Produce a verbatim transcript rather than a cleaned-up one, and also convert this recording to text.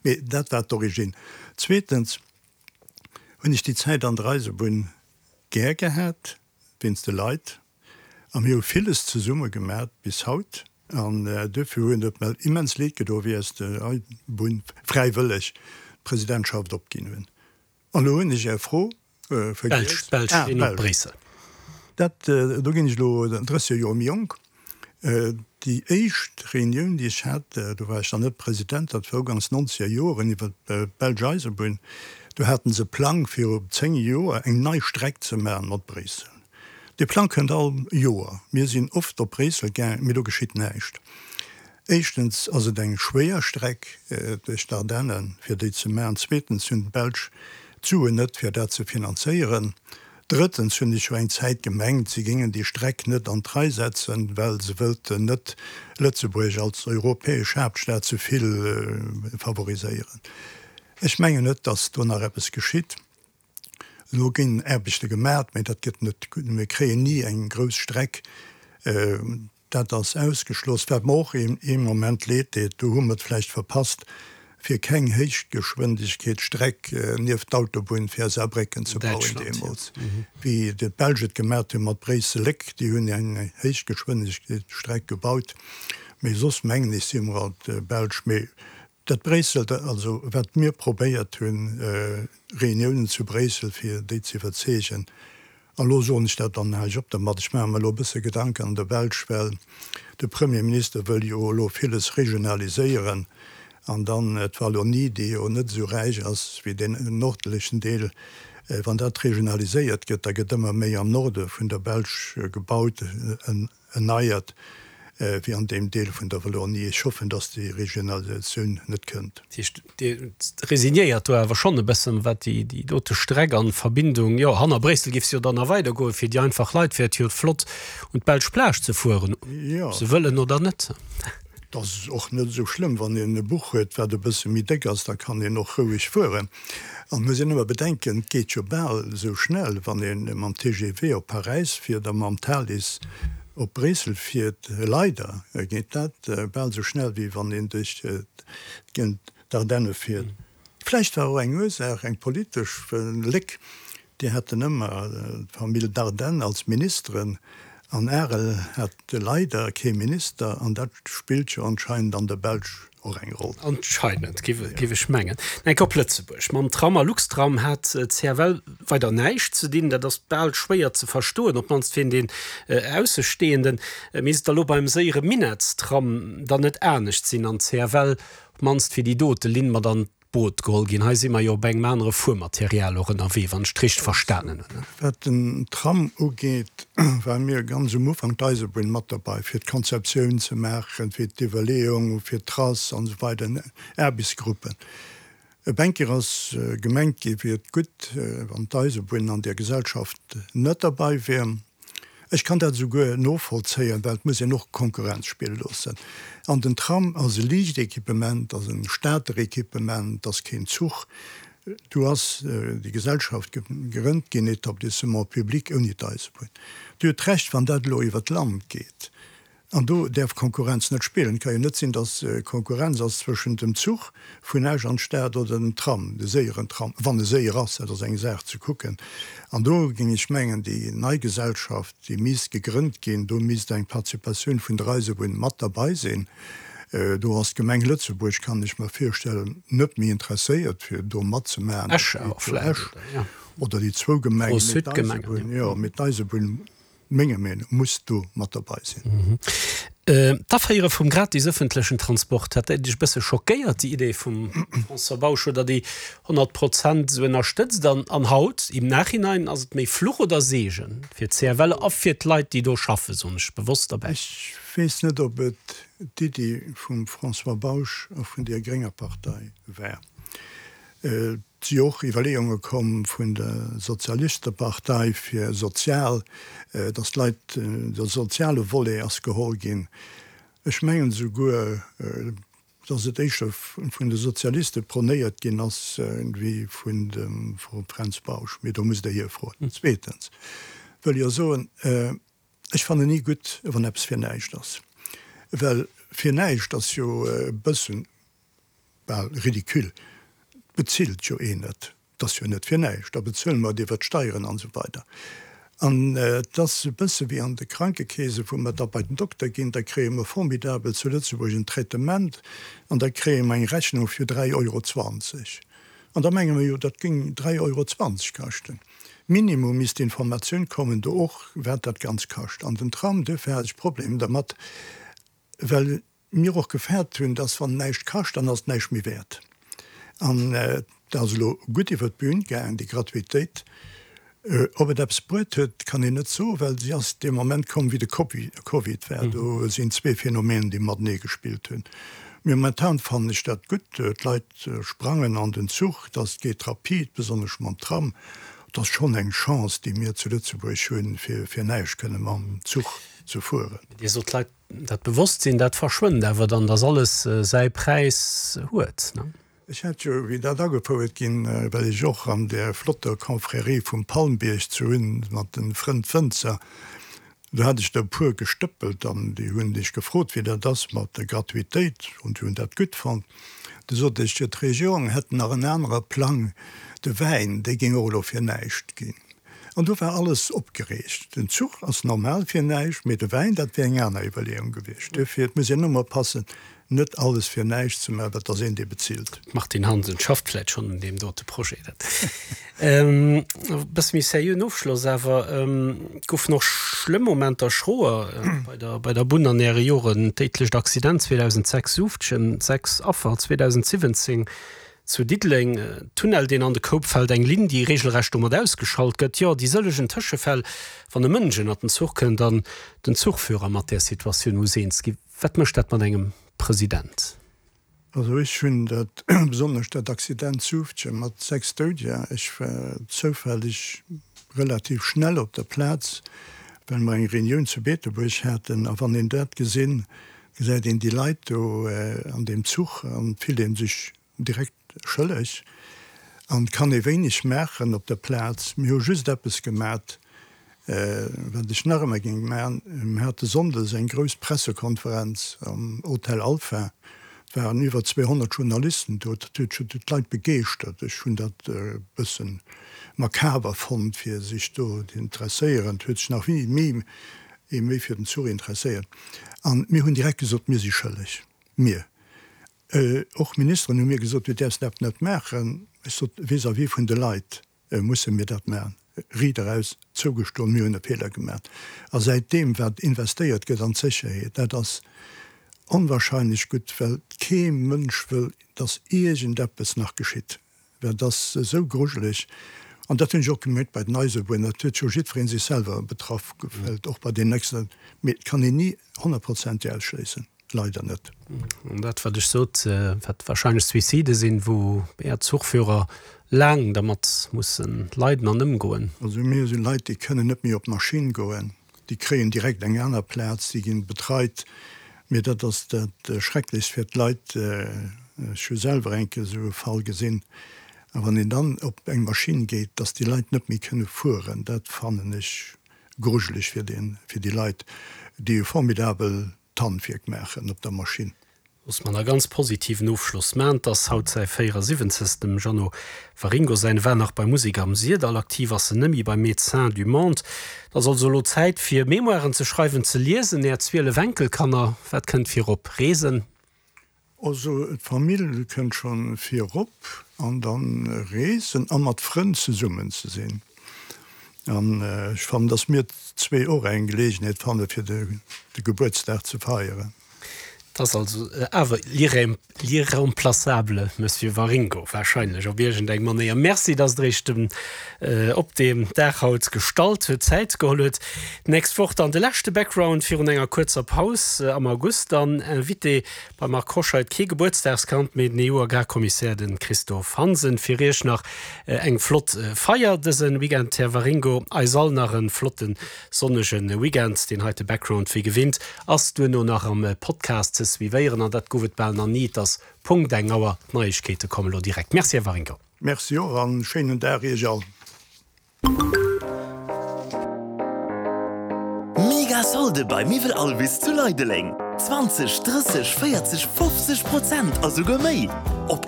Mee dat war d'Origine. Zweetens hunn ech déi Zäit an der Eisebunn gär gehat, wéinst de Leit. A mir hu villes zesumme gemat bis haut. An duerfir hunn et mer immens leed gedo, wéi ech der Eisebunn fräiwëlleg d'Presidentschaft opginn hunn. An elo hunn ech Är Fro vergiess. Belsch, Belsch, ah, Bréissel. Dat, do ginn ech elo drësseg Joer méi jonk. Déi éischt Reunioun, déi ech hat, do war ech nach net President, dat war ugangs nonzeger Joren, iwwer d'belsch Eisebunn, do haten se e Plang fir op zéng Joer eng nei Streck ze maachen mat Bréissel. Dee Plang kënnt all Joer. Mir sinn oft op Bréissel gaang, mee do geschitt näischt. Éischtens ass et eng schwéier Streck duerch d'Ardennen, fir déi ze maachen. Zweetens hunn d'Belsch d'Suen net, fir dat ze finanzéieren. Drëttens hunn ech jo eng Zäit gemengt, si géingen déi Streck net an d'Rei setzen, well se wëllten net Lëtzebuerg als europäesch Haaptstad ze vill favoriséieren. Ech mengen net, datt do nach eppes geschitt. Elo ginn Aarbechte gemat, mä dat gëtt net, mir kréien ni eng grouss Streck. Dat ass ausgeschloss. Wat mer och ee Moment leed deet, do hu mer et vläicht verpasst, fir keng Héichgeschwindegkeetsstreck nieft d'Autobunn fir Saarbrécken ze bauen deemools, wéi d'Belsch et gemat hu mat Bréissel-Léck. Déi hunn eng Héichgeschwindegkeetsstreck gebaut. Mee soss mengen ech, si mer alt Belsch. Mee dat Bréissel, also wat mir probéiert hunn, Reuniounen zu Bréissel, fir déi ze iwwerzeegen, An elo soen ech dat, dann hale ech op dermat, ech maache mer elo e bësse Gedanken an der Belsch, well de Premierminister wëll jo elo villes regionaliséieren an dann d'Wallonie, déi jo net esou räich ass wéi deen nordlechen Deel, wann dat regionaliséiert gëtt, da gëtt ëmmer méi am Norde vun der Belsch gebaut, erneiert. Wéi an deem Deel vun der Wallonie. Ech hoffen, dass déi Regionalisatioun net kënnt. Dat heescht, Dir resignéiert do awer schonn e bëssen, wat déi dote Streck an Verbindung, jo, hanner Bréissel géif se jo dann nach weidergoen. Fir déi einfach Leit wär et jo flott, un d'belsch Plage ze fueren, ob se wëllen oder net. Et ass och net esou schlëmm, wann een e Buch huet, wat e bësse méi déck ass, da kann een och roueg fueren. An et muss een ëmmer bedenken, et geet jo bal esou schnell, wann ee mam T G V op Paräis fiert a mam Thalys Op Bréissel fiert, leider geet dat bal esou schnell wéi wann een duerch d'Ardenne fiert. Vläicht war och eng Ursaach eng politesch, well Léck, déi haten ëmmer d'Famill Dardenne als Ministeren an Arel hat leider kee Minister an dat spillt jo anscheinend an der Belsch och eng Roll. Anscheinend, géif ech mengen. Enk op Lëtzebuerg. Mam Tram a Luxtram hat d'C F L weider näischt ze dinn. Dat ass bal schwéier ze verstoen, op d'mannst fir den Aussestehenden. Misst et da lo beim séiere Minettstram dann net anescht sinn an d'C F L op d'mannst fir déi dote Linn mat an d'Boot geholl ginn? Hei si mer jo op engem anere Fuermaterial och ënnerwee, wann ech et richteg verstanen hunn. Wat den Tram ugeet, ware mir ganz um Ufank d'Eisebunn mat derbei, fir d'Konzeptioun ze maachen, fir d'Iwwerleeung, fir d'Trace an esou weider, Aarbechtsgruppen. Op eng Kéier ass gemengt ginn, wier et gutt, wann d'Eisebunn an där Gesellschaft net derbei wier. Ech kann dat esouguer novollzéien, well et muss een och Konkurrenz spille loossen. An den Tram ass e liicht Equipement, ass e Stater Equipement, ass keen Zuch. Do ass déi Gesellschaft gegrënnt ginn, Établissement public ouni d'Eisebunn. Dir hutt Recht, wann dat elo iwwer d'Land geet, An do däerf Konkurrenz net spillen. Et ka jo net sinn, datt Konkurrenz ass zwëschent dem Zuch vun Esch an d'Stad oder dem Tram, de séieren Tram, wann e séier ass, dat ass eng Saach ze kucken. An do géing ech mengen, déi nei Gesellschaft, déi misst gegrënnt ginn, do misst eng Participatioun vun der Eisebunn mat derbei sinn. Do ass d'Gemeng Lëtzebuerg, kann ech mer virstellen, net méi interesséiert, fir do matzemaachen, Esch awer vläicht, oder? Jo. Oder déi zwou Gemengen, mee d'Eisebunn, jo, mee d'Eisebunn, Menger Meenung muss do mat derbei sinn. D'Aféiere vum gratis ëffentlechen Transport, hat dat Iech e bësse schockéiert, déi Idee vum François Bausch, hutt Der déi honnert Prozent esou ënnerstëtzt? An haut, im Nachhinein, ass et méi Fluch oder Seegen fir d'C F L a fir d'Leit, déi do schaffen, soen ech bewosst derbäi? Ech weess net, ob et d'Iddi vum François Bausch a vun der grénger Partei war. Et si och Iwwerleeunge komm vun der Sozialistepartei fir sozial, datt d'Leit, de soziale Volet ass geholl ginn. Ech mengen esouguer, datt et éischter vun de Sozialiste pronéiert ginn ass wéi vun dem Fränz Bausch. Mee do musst Der hie froen. Zweetens wëll ech soen, ech fannen ni gutt, wann eppes fir näischt ass. Well fir näischt ass jo e bëssen, bal ridicule. Bezilt jo een net. Et ass jo net fir näischt, da bezuele mer et iwwer d'Steieren an esou weider. An et ass e bësse wéi an de Krankekeese, wou mer da bei den Dokter ginn, da kréie mer formidabel zu Lëtzebuerg en Traitement an da kréie mer eng Rechnung fir dräi Euro zwanzeg. An da menge mer jo, dat géing dräi Euro zwanzeg kaschten. Minimum misst d'Informatioun kommen do och, wat dat Ganzt kascht. An den Tram, duerfir hat ech Problemer dermat, well mir och gefaart hunn, dass wann näischt kascht, dann ass et näischt méi wäert. An et ass elo gutt iwwer d'Bün gaangen, déi Gratuitéit. Ob et eppes bruet huet, kann een net soen, well si ass dee Moment komm, wéi de Covid war. Do sinn zwee Phänomenen, déi matenee gespillt hunn. Mee momentan fannen ech dat gutt. D'Leit sprangen an den Zuch, dass et geet rapid, besonnesch mam Tram. Et ass schonn eng Chance, déi mir zu Lëtzebuerg hunn, fir fir näischt kënne mam Zuch ze fueren. Dir sot, d'Leit, dat Bewosstsinn, dat verschwënnt awer dann, dass alles säi Präis huet, ne? Ech hat jo, wéi dat agefouert ginn, well ech och an där flotter Confrérie vum Palmbierg zu hunn mat de Frënn Wënzer, do hat ech der e puer gestëppelt an déi hunn ech gefrot, wéi dat ass mat der Gratuitéit, an déi hunn dat gutt fonnt. Du sot ech, jo, d'Regierung hätt nach en anere Plang, de Wäin, dee géing och elo fir näischt ginn. An do war alles opgereegt. Den Zuch ass normal fir näischt, mee de Wäin, dat wär eng aner Iwwerleeung gewiescht. Duerfir, et muss een ëmmer oppassen, net alles fir näischt ze maachen, well et ass een, dee bezilt. D'Martine Hansen schafft vläicht schonn un deem dote Projet. Dat e bësse méi seriöen Ofschloss awer. Et goufen och schlëmm Momenter, schroer bei der bei der Bunn an Äre Joren. D'déidlecht Accident zweedausendsechs Suuftgen, sechs Affer zweedausensiwwenzéng Zu Diddeleng, Tunnel deen an de Koup fält, eng Linn déi regelrecht domat ausgeschalt gëtt, jo déi sëllegen Tëschefäll wann e Mënsch ënnert den Zuch kënnt an den Zuchführer mat där Situatioun muss eens ginn. Wat mécht dat mat engem President? Also ech hunn dat, besonnesch dat Accident Zufftgen mat sechs Doudeger, ech war zoufälleg relativ schnell op der Plaz, well mer eng Reunioun zu Beetebuerg haten, a wann een dat gesinn, gesäit een déi Leit do an deem Zuch an fillt ee sech direkt schëlleg an kann ee wéineg maachen op der Plaz. Mir hu just eppes gemat, wat ech nach ëmmer géing maachen, Mir hate sonndes eng grouss Pressekonferenz am Hotel Alpha, et waren iwwer zweehonnert Journalisten do, dat huet scho d'Leit begeeschtert. Ech hunn dat e bësse makaber fonnt, fir sech do interesséieren. Et huet sech nach ni méi ee méi fir den Zuch interesséiert. An mir hunn direkt gesot, mir si schëlleg, mir. Och Ministeren hu mir gesot, du däerfs dat net maachen. Ech sot, vis-à-vis vun de Leit musse mir dat maachen. Riit eraus zougestoen, mir hunn e Feeler gemaach. A säitdeem, wat investéiert gëtt an d'Sécherheet, dat ass onwahrscheinlech gutt, well kee Mënsch wëll, datt iergendeppes nach geschitt. Dat ass esou grujeleg. An dat hunn ech och gemierkt bei den Eisebunnen, dat huet jo jiddweree sech selwer betraff gefillt, och bei deenen Accidenten. Mee et kann een ni honnertprozenteg ausschléissen. Leider net. An dat, wat ech sot, wat wahrscheinlech Suicide sinn, wou Är Zuchführer laang dermat mussen leiden an ëmgoen. Also mir si Leit, déi kënnen net méi op d'Maschinn goen, déi kréien direkt eng aner Plaz, déi ginn betreit. Mee dat ass dat Schrecklechst fir d'Leit. Ech hu selwer eng Kéier esou e Fall gesinn. A wann een dann op eng Maschinn geet, dass déi Leit net méi kënne fueren, dat fannen ech grujeleg fir déi Leit, déi e formidabel d'Handwierk maachen op der Maschinn. Loosse mer nach e ganz positiven Ofschloss man. Et ass haut säi véierasiwwenzegst, dem Jeannot Waringo säin. War nach bei Musek am Syrdall, aktiv ass en nëmme bei Médecins du Monde. Et ass also elo Zäit fir Memoiren ze schreiwen, ze liesen. Är zwielef Enkelkanner, wat kënnt virop? Reesen? Also d'Famill kënnt scho virop an dann Reesen a mat Frënn zesummen ze sinn. An ech fannen, dass mir zwee och eng Geleegenheet fanne fir de Gebuertsdag ze feieren. Et ass also awer l'irremplaçable Monsieur Waringo wahrscheinlech op iergend eng Manéier. Merci, dass Der Iech dem op deem Dag haut gestallt huet, Zäit geholl huet. D'nächst Woch dann de leschte Background virun enger kuerzer Paus am August. Dann Invité beim Marc Hoscheid, kee Gebuertsdagskand, mee den E U-Agrarkommissär, de Christophe Hansen. Fir Iech nach eng flott Feier dëse Weekend, Här Waringo. Eis all nach e flotte sonnege Weekend. Deen heite Background, wéi gewinnt, ass duerno nach am Podcast ze suivéieren. An dat gouf et bal nach ni, et ass Punkt eng Auer. D'Neiegkeete kommen elo direkt. Merci, Här Waringo. Merci och an schéinen Dag Iech all. Mega Solde bei Miwwel Alvis zu Leideleng! zwanzeg, drësseg, véierzeg, fofzeg Prozent a souguer méi!